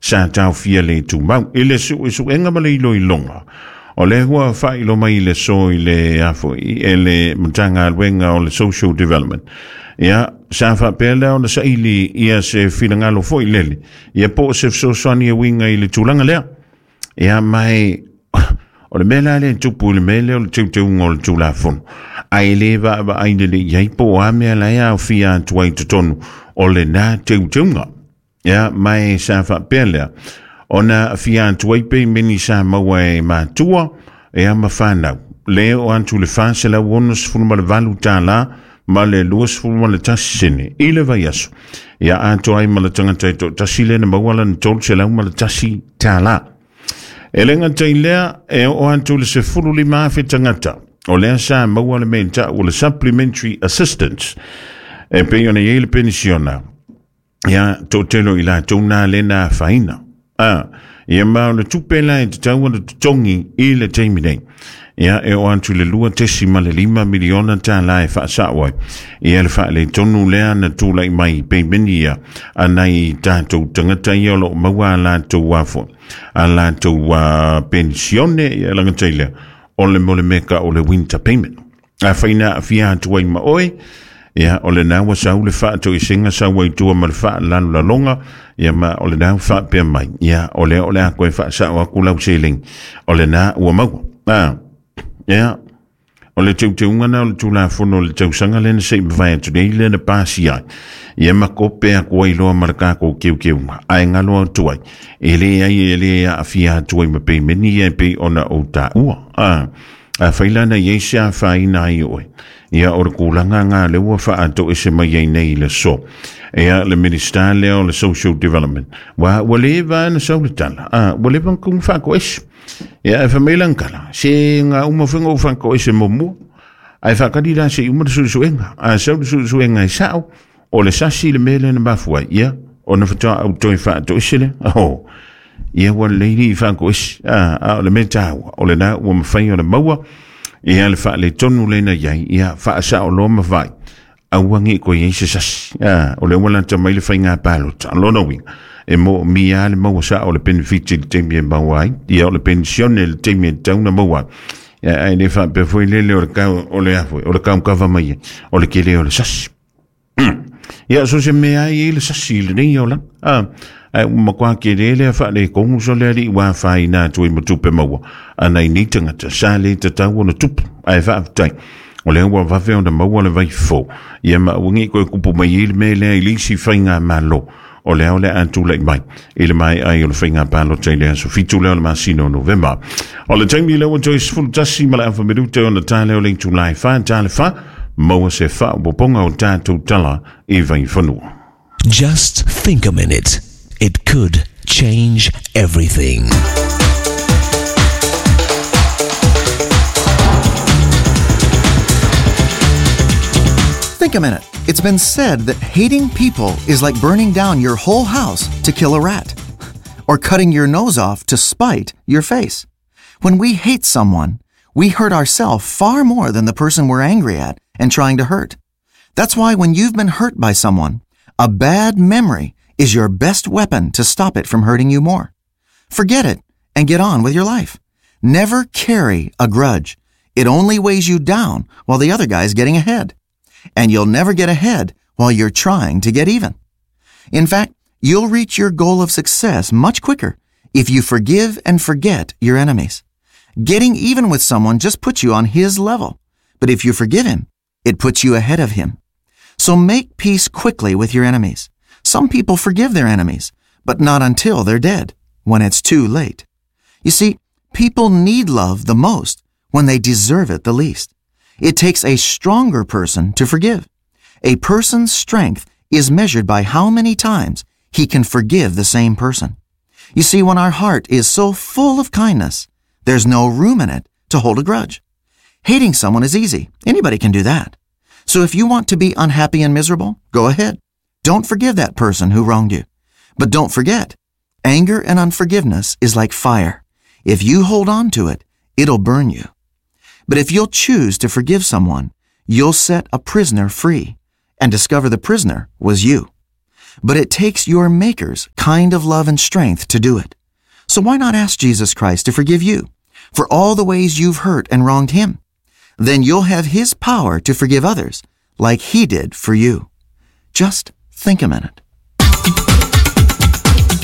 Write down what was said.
sa taofia le tumau. I le suesuega ma le iloiloga, o lea ua faailoa mai i le aso i le a foi e le Matagaluega o le Social Development. Ia, sa faapea lea ona saili ia se finagalo foi lele, ia po o se fesoasoani e uiga i le tulaga lea. Ia, ma e, o le mea la lea e tupu i le mea lea o le teuteuga o le Tulafono, ae le vaavaai lelei i ai po o a mea la e aofia atu ai i totonu o lena teuteuga. Ia, ma e sa faapea lea, ona aafia atu ai peimeni sa maua e matua, ia ma fanau, le oo atu i le $468 ma le 21 sene i le vaiaso. Ia atoa ai ma le tagata e toatasi lea na maua lana $301. E le gata i lea, e oo atu i le 15,000 tagata o lea sa maua le mea i ta'u o le Supplementary Assistance e pei ona i ai le penisiona. Ia, toatele o i latou nā lea na afaina. A, ia ma o le tupe la e tatau ona totogi i le taimi nei. Ia, e oo atu i le $2.5 miliona tālā e faasao ai. Ia le faaletonu lea na tulai mai i peimeni ia a nai tatou tagata ia o lo o maua a latou afo, a latou penisione, ia lagata i lea, o le mo le mea ka o le winter payment. Afai na aafia atu ai ma oe, ia, o lena ua sau le faatoesega sau ai tua ma le faalalolaloga, ia ma o lena ua faapea mai, ia, o lea o le a koe faasao atu lau seleni, o lena ua maua. A, ia, o le teuteuga na o le Tulafono o le tausaga lea na se i mavae atu nei lea na pasia ai, ia ma kope atu ai loa ma le tatou teuteuga, ae galo atu ai, e leai e le aafia atu ai ma peimeni ia e pei ona ou taua. A, Afai la na i ai se afaina ai oe, ia o le tulaga lena lea ua faatoese mai ai nei i le aso. Ia le Minisita lea o le Social Development, ua, ua leva na sau le tala, a, ua leva na tatau ona faatoese. Ia ae fai mai lana tala, se na uma foi ona ou faatoese muamua, ae faatali la se i uma le suesuega. A sau le suesuega e sao, O le sasi le mea lea na mafua ai, ia, ona faatoa ou toe faatoese lea. Oh, ia ua lelei le faatoese. A, a o le mea taua, o lena ua mafai ona maua, ia le faaletonu lea na i ai, ia faasao loa ma vai. Aua ne i toe i ai se sasi. A, o lea ua lata mai le faiga palota. Lona uiga, e moomia lava le maua sao o le penefiti i le taimi e maua ai, ia o le penisione i le taimi e tatau ona maua ai. Ia, ae le faapea foi lele o le kau, o le a foi, o le kaukava mai ai, o le tele o le sasi. Ia, so se mea ai i le sasi i lenei olaga. A, ae ua matua tele lea faaletonu so le alii ua afaina atu ai ma tupe maua a nai nei tagata sa le tatau ona tupu. Ae faafetai, o lea ua vave ona maua le vai fou. Ia ma aua ne i toe tupu mai ai le mea lea i le isi faigamalo o lea o le a tulai mai i le maea ai o le faiga palota i le aso 7 lea o le masina o Novema. O le taimi lea ua toe 11 ma le afa minute ona ta lea o le itula e 4 ta le 4, maua se faaopoopoga o tatou tala i Vaifanua. Just think a minute. It could change everything. Think a minute. It's been said that hating people is like burning down your whole house to kill a rat, or cutting your nose off to spite your face. When we hate someone, we hurt ourselves far more than the person we're angry at and trying to hurt. That's why when you've been hurt by someone, a bad memory is your best weapon to stop it from hurting you more. Forget it and get on with your life. Never carry a grudge. It only weighs you down while the other guy's getting ahead. And you'll never get ahead while you're trying to get even. In fact, you'll reach your goal of success much quicker if you forgive and forget your enemies. Getting even with someone just puts you on his level. But if you forgive him, it puts you ahead of him. So make peace quickly with your enemies. Some people forgive their enemies, but not until they're dead, when it's too late. You see, people need love the most when they deserve it the least. It takes a stronger person to forgive. A person's strength is measured by how many times he can forgive the same person. You see, when our heart is so full of kindness, there's no room in it to hold a grudge. Hating someone is easy. Anybody can do that. So if you want to be unhappy and miserable, go ahead. Don't forgive that person who wronged you. But don't forget, anger and unforgiveness is like fire. If you hold on to it, it'll burn you. But if you'll choose to forgive someone, you'll set a prisoner free and discover the prisoner was you. But it takes your Maker's kind of love and strength to do it. So why not ask Jesus Christ to forgive you for all the ways you've hurt and wronged him? Then you'll have his power to forgive others like he did for you. Just think a minute.